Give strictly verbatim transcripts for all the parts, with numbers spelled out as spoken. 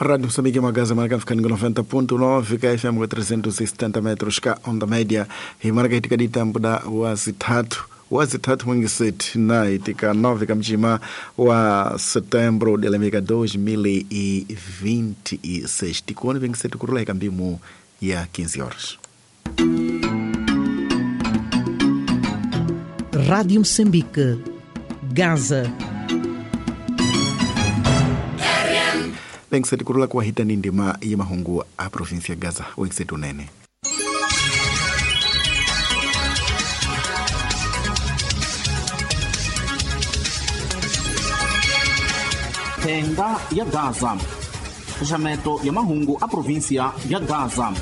Rádio Moçambique Magaza marca ficando noventa ponto nove K F M trezentos e setenta metros ka onda média e marca itika di tempo da wazitatu wazitatu mwingi seti na itika nove kamjima wa setembro de lemika dois mil e vinte e seis tikoni vingi seti kurula ikambimu ya quinze horas. Rádio Moçambique, Gaza. Vengiseti kurula kwa hita ni ndima ya mahungu a província Gaza. Wengiseti unene. Tenga ya Gaza. Xaxameto ya mahungu a província ya Gaza.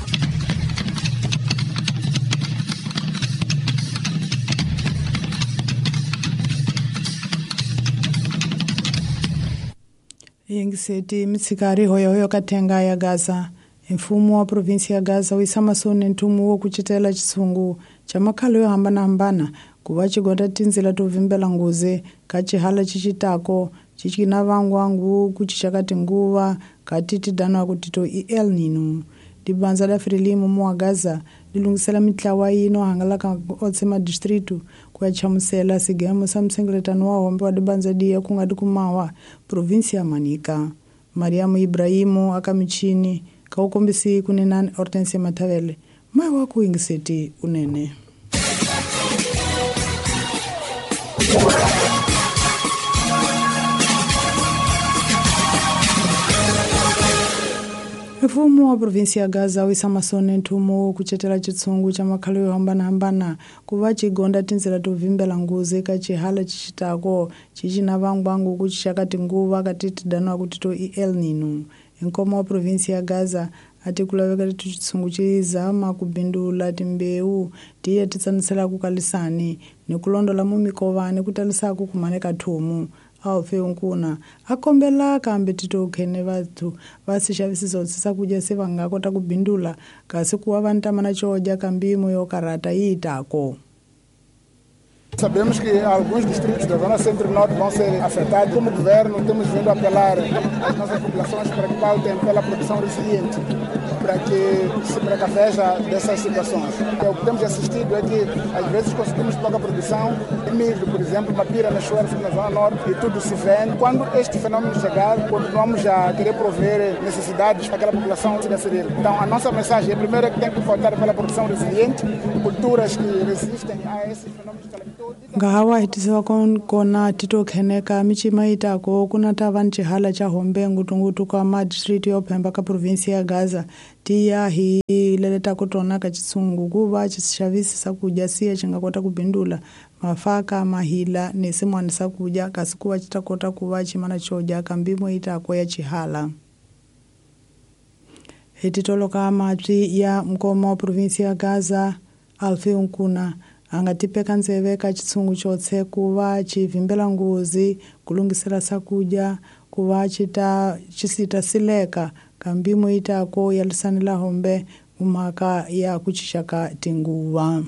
Yengiseti mitsikari hoyohoyo katenga ya Gaza. Mfumo wa provinsi ya Gaza wisamasoni ntumu wo kucitela chisungu cha makhalo yo hambanahambana kuva chigonda tinzila to vimbela nguze ka chihala chichitako chichina vangwangu kuchichaka tinguva kati tidanwa kuti to i El Nino. Dibanza la Frelimo mu wa Gaza lilungisela mitlawa yino hangalaka otse madistritu ku ya chamusela sigemo sa msengeletano wa hombe wa dibanza diya kunga dikumawa provinsi ya Manica. Mariamu Ibrahimu akamichini kaukombisi kunenani Hortensia Matavele mai wa kuingiseti unene. Mfumo wa provinsi ya Gaza wisamasone ntumu kuchetela chitsungu cha makhalo yo hambanahambana kuva chigonda tinzila to vimbela nguze ka chihala chichitako chichina vangwangu kuchixaka tinguva kati tidanwa kuti to i El Nino. Nkoma wa provinsi ya Gaza ati kulaveka ti chitsungu chizama kubindula timbewu tiye titsanisela kukalisani ni kulondola mu mikovani kutalisaku kumaneka thumu. Alfe unkuna akombela kambe titokhene vathu vasixavisiso sakudya se va nga kota ku bindula kasi kuva va ntamana xodya kambimo yo karata yi tako. Sabemos que alguns distritos da Zona Centro-Norte vão ser afetados. Como governo, temos vindo a apelar às nossas populações para que pautem pela produção resiliente, para que se precaveja dessas situações. O que temos assistido é que, às vezes, conseguimos pouca produção de milho, por exemplo, mapira na chuva na Zona Norte e tudo se vende. Quando este fenômeno chegar, continuamos a querer prover necessidades para aquela população se decidir. Então, a nossa mensagem é, primeiro, é que tem que pautar pela produção resiliente, culturas que resistem a esses fenômenos calamitosos. Ngahawa hitisiwa kona titokheneka michima itako kuna ta va ni xihala xa hombe ngutungutu ka madistrito yo phemba ka provinsi ya Gaza tiya hi leletako tona ka chitsungu kuva xixavisi sakudya siya xi nga kota ku bindula mafaka mahila ni swin'wana sakudya kasi kuva xi ta kota ku va ximana xo dya ka mbimo itako ya xihala. Hi titoloka mapyi ya mukoma wa provinsi ya Gaza Alfe Nkuna a nga tipeka ndzeve ka chitsungu chotse ku va xi vimbela nghozi ku lunghisela swakudya ku va xi ta xi sita sileka ka mbimo itako ya lisanela hombe mhaka ya ku chichaka tinguva.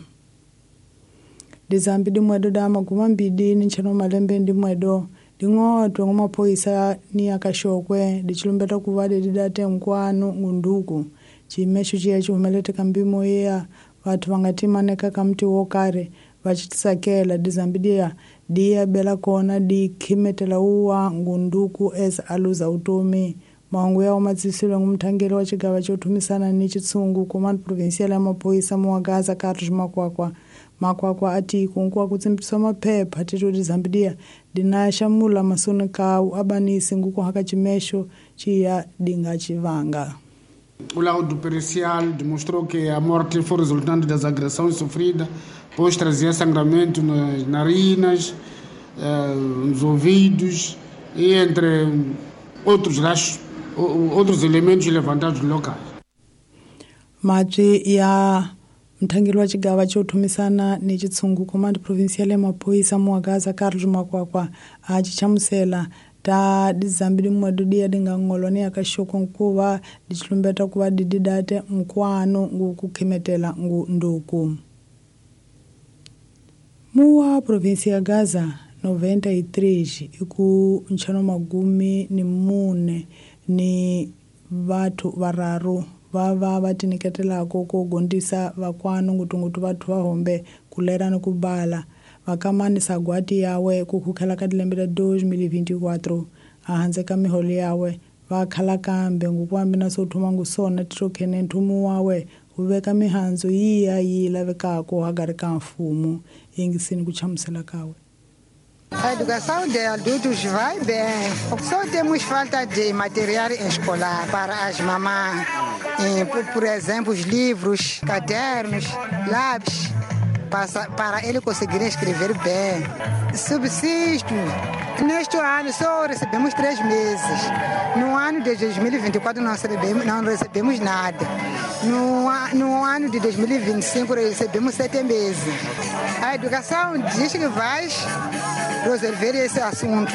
Dizambi dimwedo da maguma mbidi ni nchano malembe ndimwedo ding'otwe ngumaphoyisa ni akaxokwe dichilumbeta ku va didate nkwanu ngunduku chimexo xiya xi humelete ka mbimo ya vathu va nga timaneka ka mti wo karhi va xi tisakela dizambi diya diya bela kona di khimetela uwa ngunduku as a luza utomi. Mahungu ya matsisilo ngumthangeli wa xigava xo thumisana ni xitshungu command provincial ya maphorisa mu wa Gaza Carlos Makwakwa. Makwakwa ati kunkuwa ku tsimbisa maphepha tito dizambi diya dina xamula masoni kawu abanisi nguku haka ximexo xiya dinga xivanga. O laudo pericial demonstrou que a morte foi resultante das agressões sofridas, pois trazia sangramento nas narinas, eh, nos ouvidos e entre outros rachos, outros elementos levantados locais. Mapyi ya mthangeli wa xigava xo thumisana ni xitshungu command provincial ya maphorisa mu wa Gaza Carlos Makwakwa a xi hlamusela ta dizambi dimwedo diya dinga ng'olo ni akaxoko nkuva dichilumbeta ku va dididate nkwanu ngu ku khimetela ngu nduku. Muwa provinsi ya Gaza noventa e três iku nchano magumi ni mune ni vathu vararu va va va tinyiketelaka ku gondisa vakwanu ngutungutu vathu va hombe ku lera ni ku bala vakamani sagwati yawe ku khukhela ka dilembe la dois mil e vinte e quatro ahandze ka miholo yawe va khala kambe ngukwambi na so thuma ngusona titokhene nthumu wawe wu veka mihandzu yiya yi lavekaka hagari ka mfumo yingisini ku chamusela kawe. A educação de adultos vai bem. Só temos falta de material escolar para as mamães. Por, por exemplo, os livros, cadernos, lápis, para, para ele conseguir escrever bem. Subsisto. Neste ano só recebemos três meses. No ano de dois mil e vinte e quatro não recebemos, não recebemos nada. No, no ano de dois mil e vinte e cinco recebemos sete meses. A educação diz que vai resolver esse assunto.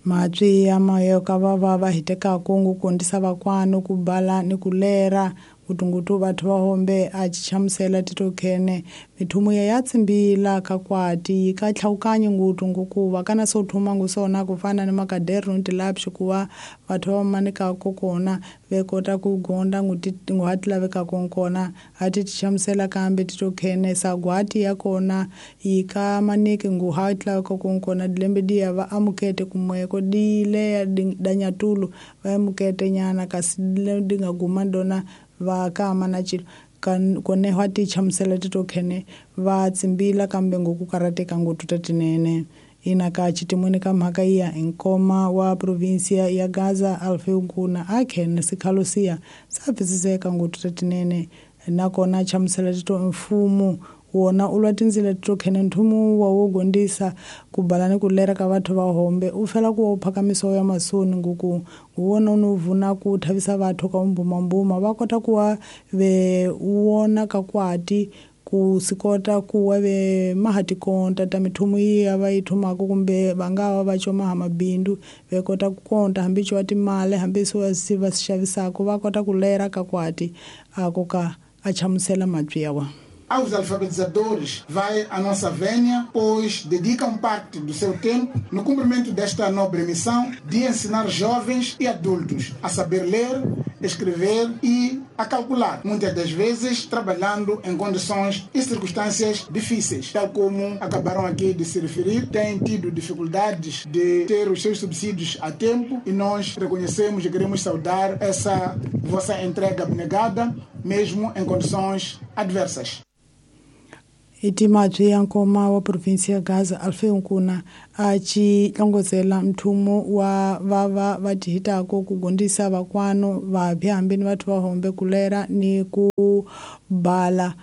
Matwi ya mayoka va va va hitekaka ngu kondisa vakwanu ku bala ni ku lera ngutungutu vathu va hombe a chichamusela titokhene mithumu ya ya tsimbila ka kwati yi ka tlhawukanyi ngutu ngukuva kana so thuma ngusona ku fana ni makaderno ni tilapshi ku va vathu va manikaka kona ve kota ku gonda nguhati lavekaka nkona a ti tichamusela kambe titokhene sagwati ya kona yi ka maniki nguhati lavekaka nkona dilembe diya va amukete kumweko dile danyatulu va amukete nyana kasi di nga guma dona va kama na chilo kone hwa ti chamusela titokhene va tsimbila kambe ngoku karateka ngotu tatinene ina ka chitimwene ka mhaka iya nkoma wa provinsia ya Gaza Alfeu Nkuna akhene sikhalosia sapfisiseka ngotu tatinene nakona chamusela tito mfumo wona ulwa tindzila titokhene nthumu wa wo gondisa ku bala ni ku lera ka vathu va hombe u fela ku phakamiso ya masoni nguku wona unu vuna ku thavisa vathu ka mbumambuma va kota ku wa ve wona ka kwati ku sikota ku wa ve mahati konta ta mithumu iya va yi thumaka kumbe va nga va va choma ha mabindu ve kota ku konta hambi cho timali hambi swo si va xavisaka va kota ku lera ka kwati ako ka a chamusela matwi ya wa. Aos alfabetizadores vai a nossa vênia, pois dedicam parte do seu tempo no cumprimento desta nobre missão de ensinar jovens e adultos a saber ler, escrever e a calcular, muitas das vezes trabalhando em condições e circunstâncias difíceis, tal como acabaram aqui de se referir, têm tido dificuldades de ter os seus subsídios a tempo e nós reconhecemos e queremos saudar essa vossa entrega abnegada, mesmo em condições adversas. Itimatwi ya nkoma wa provinsi ya Gaza Alfeu Nkuna a chi tlongozela mthumu wa vava va tihitaka ku gondisa vakwanu vapya hambi ni vathu va hombe ku lera ni ku bala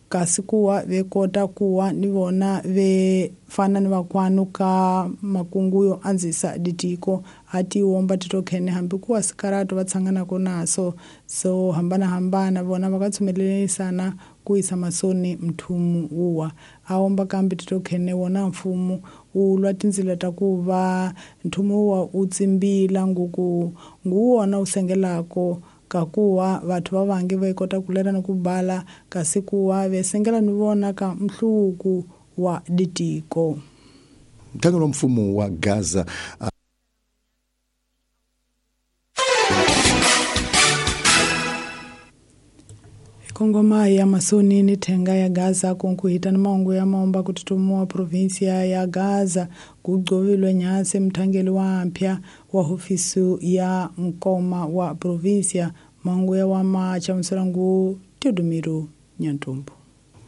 kasi kuwa ve kota kuwa ni vona ve fana ni vakwanu ka makungu yo andzisa ditiko a ti womba titokhene hambi kuwa sikarato va tshanganaka naso so hambanahambana vona va ka tshumelelisana ku yisa masoni mthumu wuwa a womba kambe titokhene wona mfumo wu lwa tindzila ta ku va nthumu wuwa wu tsimbila nguku nguwona wu sengelako kakuwa vathu va vangi va kota ku lera ni ku bala kasi kuwa ve sengela ni vona ka mhluvuko wa ditiko. Mthangelo wa mfumo wa Gaza uh... Kongoma ya masoni ni thenga ya Gaza kunkuhita ni maungu ya maomba kututumua provinsia ya Gaza kugcovilwe nyase mthangeli wa mpya wa hofisi ya nkoma wa provinsia maungu ya wama chamuselangu Teodomiro Nyantumbu.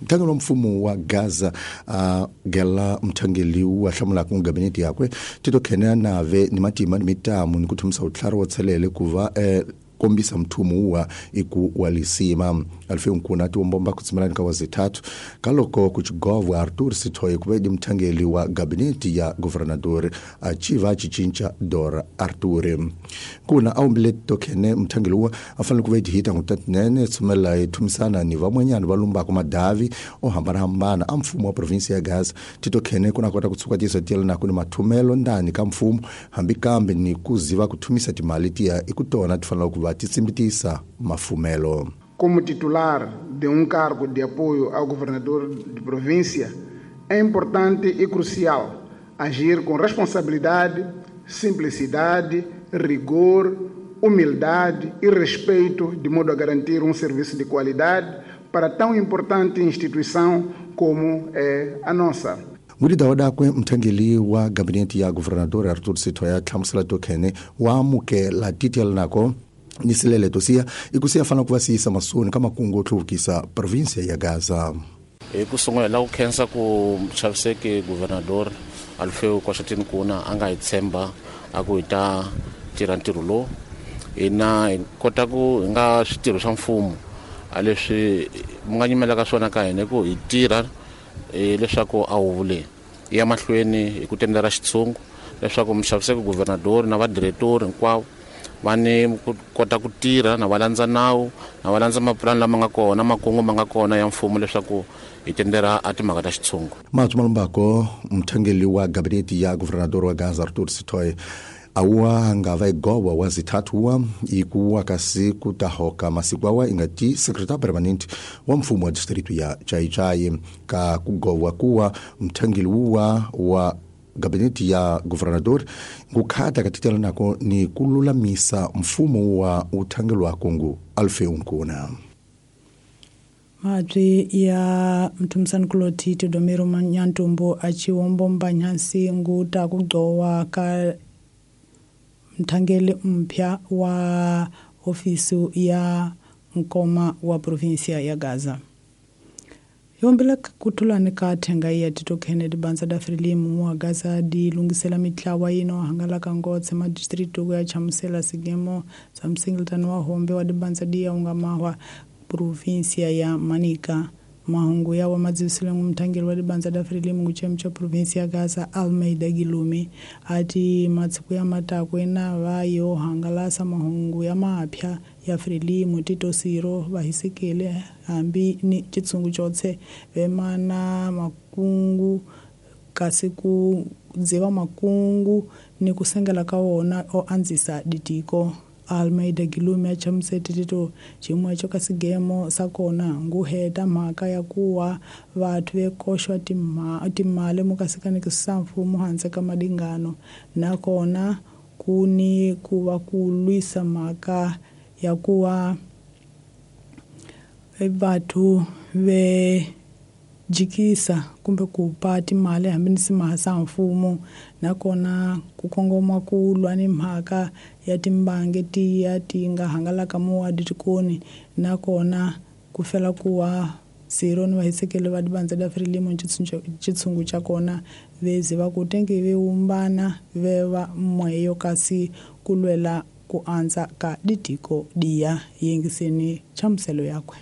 Mthangelo wa mfumo wa Gaza uh, gela mthangeli wa hlamulaka ku gabinete yakwe titokhene nave ni matima ni mitamu ni kuthumisa utlhari wo tshelele kuva eh, kombisa mthumu wa iku walisima Alfeu Nkuna ti wombomba kutsimelani ka wazithathu kaloko kuchigovwa Arthur Sithoye kuvedi mthangeli wa gabineti ya governador achiva chichincha Dora Arthur Nkuna awumbile tokhene mthangeli wa afanele kuvedi hita ngutatinene tsumela ithumisana ni vamwenyana va lumbaka madavi o hambanahambana a mfumo wa provinsi ya Gaza titokhene kuna kota kutsuka tiso tiyela nako ni mathumelo ndani ka mfumo hambi kambe ni kuziva kuthumisa timali tiya ikutona tifanele kuva titsimbitisa mafumelo. Como titular de um cargo de apoio ao governador de província, é importante e crucial agir com responsabilidade, simplicidade, rigor, humildade e respeito, de modo a garantir um serviço de qualidade para tão importante instituição como é a nossa. Ngulida wadakwe mthangeli wa gabinete ya governador Arthur Sithoya hlamusela tokhene wa amukela titela nako ni sileleto siya ikusiya fana ku va siyisa masoni ka makungu yo hluvukisa provinsia ya Gaza. Hi ku sungula la ku khensa ku chaviseki governador Alfeu Kwashatini Kuna a nga hi tshemba a ku hi ta tirha ntirho lowu hina hi kota ku hi nga switirho swa mfumo a leswi mi nga nyimelaka swona ka hina ku hi tirha leswaku a huvo leyi yi ya mahlweni hi ku tendera xitshungu leswaku muxaviseki governador na vadiretori hinkwavo va ni ku kota ku tirha na va landza nawu na va landza mapulani lama nga kona makungu ma nga kona ya mfumo leswaku hi tendera a timhaka ta xitshungu. Matsu Malumbako mthangeli wa gabinete ya governador wa Gaza Arthur Sithoye awa nga va igowa wa zithathu wa ikuwa kasi kutahoka masiku awa ingati secretary permanent wa mfumo wa district ya Chaichai ka kugowa kuwa mthangeli wa wa gabinete ya governador ngukhata katitela nako ni kululamisa mfumo wa uthangelo wa Kongo Alfeu Nkuna. Madri ya mtumsani kuloti Teodomiro Nyantumbo achiwombomba nyansi nguta kugcowa ka mthangeli mpya wa ofisi ya nkoma wa provinsia ya Gaza. Yombela kutulani ka thenga ya Tito Kennedy banza da Frelimu mwa Gaza di lungisela mitlawa yino hangalaka ngotse ma district ya chamusela sigemo sa msingletano wa hombe wa dibanza di ya ungamahwa provinsia ya Manica. Mahungu ya wa madzisile ngumthangeli wa dibanza da Frelimu kuchemcha provinsia ya Gaza Almeida Gilumi ati matsiku ya matako ena vayo hangalasa mahungu ya mapya ya Frelimu Tito Siro vahisikele hambi ni chitsungu chotse vemana makungu kasi ku dziva makungu ni kusengela ka wona o anzisa ditiko. Almeida Gilumi achamusete Tito chimwe cho kasigemo sakona nguheta mhaka ya kuwa vathu vekoxwa timali mukasikanekisa mfumo handle ka madingano nakona kuni kuva ku lwisa mhaka ya kuwa vathu ve jikisa kumbe ku pa timali hambi ni simahasa mfumo nakona ku kongoma ku lwa ni mhaka ya timbange tiya ti nga hangalaka muwa ditikoni nakona ku fela kuwa zero ni vahisekele va dibanza da Frelimu chitsungu cha kona vezi va ku tenge ve umbana ve va mweyo kasi ku lwela ku andza ka ditiko diya yingiseni chamuselo yakwe.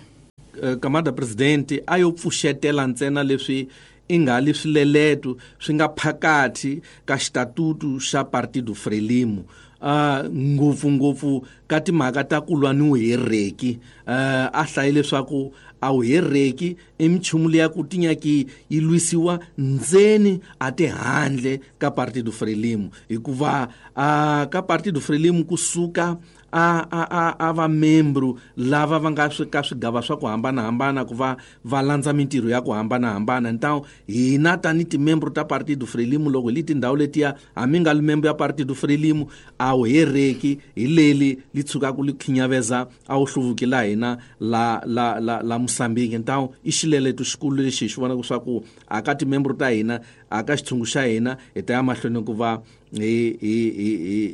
Kamada presidente a yo pfuxetela ntsena leswi i nga li swileleto swi nga phakathi ka xitatutu xa Partido Frelimo uh, ngopfungopfu ka timhaka ta ku lwa ni vuhereki. uh, a hlaye leswaku a vuhereki i minchumu leya ku tinyaki yi lwisiwa ndzeni a ti handle ka Partido Frelimo hikuva uh, ka Partido Frelimo kusuka a a a a va membro lava va nga ka swigava swa ku hambanahambana ku va va landza mintirho ya ku hambanahambana. Então hina tani timembro ta Partido Frelimo loko hi li tindhawu letiya hambi nga li membo ya Partido Frelimo a wu hereki hi leli li tshukaku li khinyaveza a wu hluvuki la hina la la la la Mozambique. Então i xileleto xikulu lexi hi xi vonaka swa ku a ka timembro ta hina a ka xitshungu xa hina hi ta ya mahlweni ku va hi hi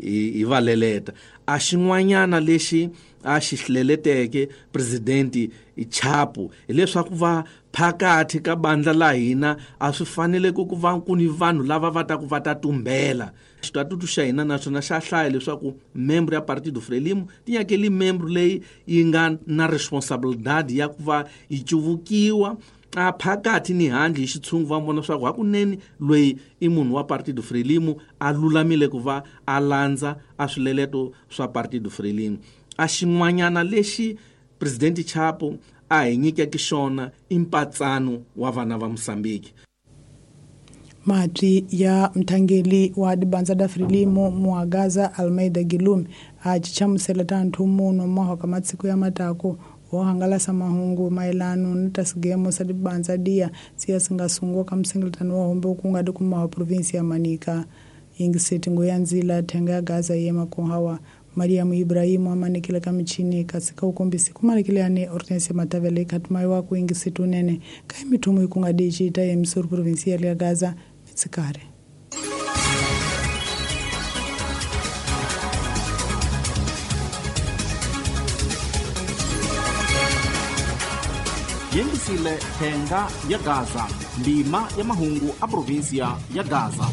hi hi va leleta. A xin'wanyana lexi a xi hleleteke presidenti Chapo hileswaku va phakathi ka bandla la hina a swi fanele ku va ku ni vanhu lava va ta ku va ta tumbela. Xitatutu xa hina naswona xa hlaya leswaku membro ya Partido Frelimo ti nyakeli membro leyi yi nga na responsabilidade ya ku va yi cuvukiwa a phakathi ni handle hi xitshungu va vona leswaku hakunene loyi i munhu wa Partido Frelimo a lulamile ku va a landza a swileleto swa Partido Frelimo. A xin'wanyana lexi Presidente Chapo a hi nyikeke xona i mpatsano wa vana va Mozambique. Matwi ya mthangeli wa dibanza da Frelimo Muagaza Almeida Gilumi a chichamusela tanthu muno mahoka matsiku ya matako wo hangalasa mahungu maelano ni ta sigemo sa dibanza dia siya singasungwa ka msingletano wa hombe kunga dikumaha provinsi ya Manica. Yingiseti nguyanzila thenga ya Gaza yema kuhawa Mariamu Ibrahimu amanekile ka michini kasi ka ukombisi kumanekile ane Hortensia Matavele katumayiwa kuingisitu nene kai mithumu ikunga dichita ya emisoro provincial ya Gaza mitsikare. Yengisile thenga ya Gaza, ndima ya mahungu a provinsia ya Gaza.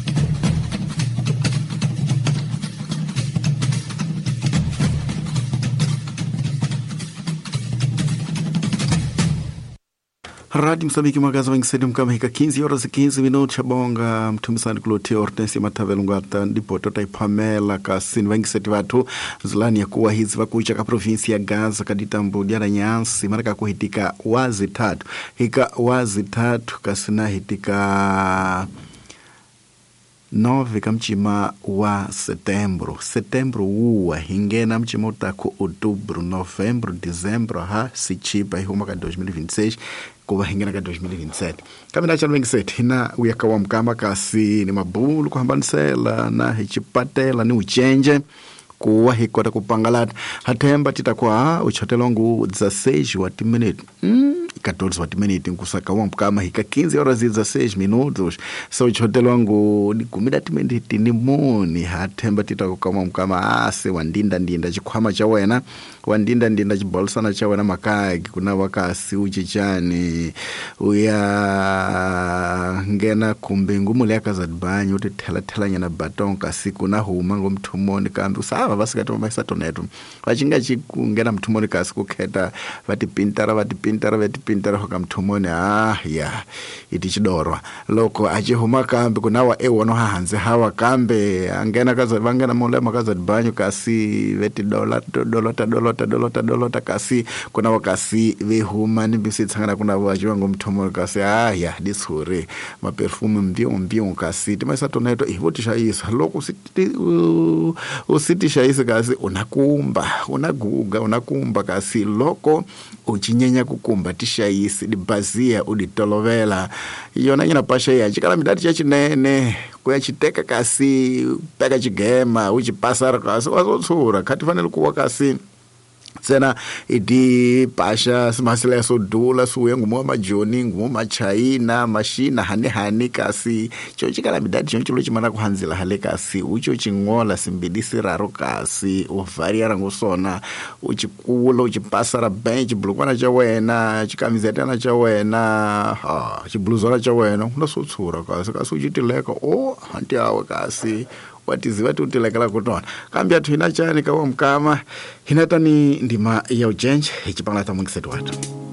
Rádio Moçambique magaza wangisedi mkama hika quinze horas e quinze minutos bonga mtumisani kulotia Hortensia Matavele ngata ndipo tota ipamela kasini wangisedi watu zulani ya kuwa hizi vakucha ka provinsia ya Gaza kaditambo diara nyansi maraka kuhitika wazi tatu hika wazi tatu kasina hitika nove kamchima wa setembro setembro uwa hingena mchima utako outubro novembro dezembro ha sichipa ihuma ka dois mil e vinte e seis kuva hingena ka dois mil e vinte e sete kamina cha vinte e sete hina uyaka wa mkama kasi ni mabulu kuhambanisela na hichipatela ni uchenje kuwa hikota kupangalata hathemba titakuwa uchotelongu dezesseis wa minute mm. quatorze wa minute nkusaka wa mkama hika quinze horas e dezesseis minutos so uchotelongu ni kumi minute ni muni hathemba titakuwa mkama ase wandinda ndinda chikhwama cha wena wandinda ndinda chibolsana cha wena makaki kuna wakasi uchichani uya ngena kumbe ngumule akazadbanyo uti thela thela nyana baton kasi kuna huma ngomthumoni kambi usava vasikati vamaisatoneto vachinga chikungena mthumoni kasi kukheta vatipintara vatipintara vatipintara hoka mthumoni ah ya iti chidorwa loko achihuma kambi kunawa ewono hahanze hawa kambe angena kaza vangena mule makazadbanyo kasi veti dola dolota dolota dolota dolota kasi kuna wakasi vehuma ni bisitsangana kuna vachivango mthumoni kasi ah ya dishure maperfume mbio mbio kasi timaisatoneto ivotishaisa loko usiti usitishaisa kasi unakumba unaguga unakumba kasi loko uchinyenya kukumba tishaisi dibazia uditolovela yona nyina pasha ya chikala midati chachinene kuyachiteka kasi peka chigema uchipasara kasi wazotsura khati fanele kuwa kasi tsena iti pasha simasela sodula suye ngumo majoni ngumo machaina mashina hani hani kasi cho chikala midati choncho chimana kuhanzila hale kasi ucho chingola simbidi siraro kasi uvariara ngosona uchikula uchipasara bench bulukwana cha wena chikamizetana cha wena ha chibluzana cha wena unasotsura kasi kasi uchitileka o hanti awe kasi watiziva tutilekela kutona kambi athu hina chani kawa mkama hinatani ndima ya ujenje ichipangala tamungisetu watu.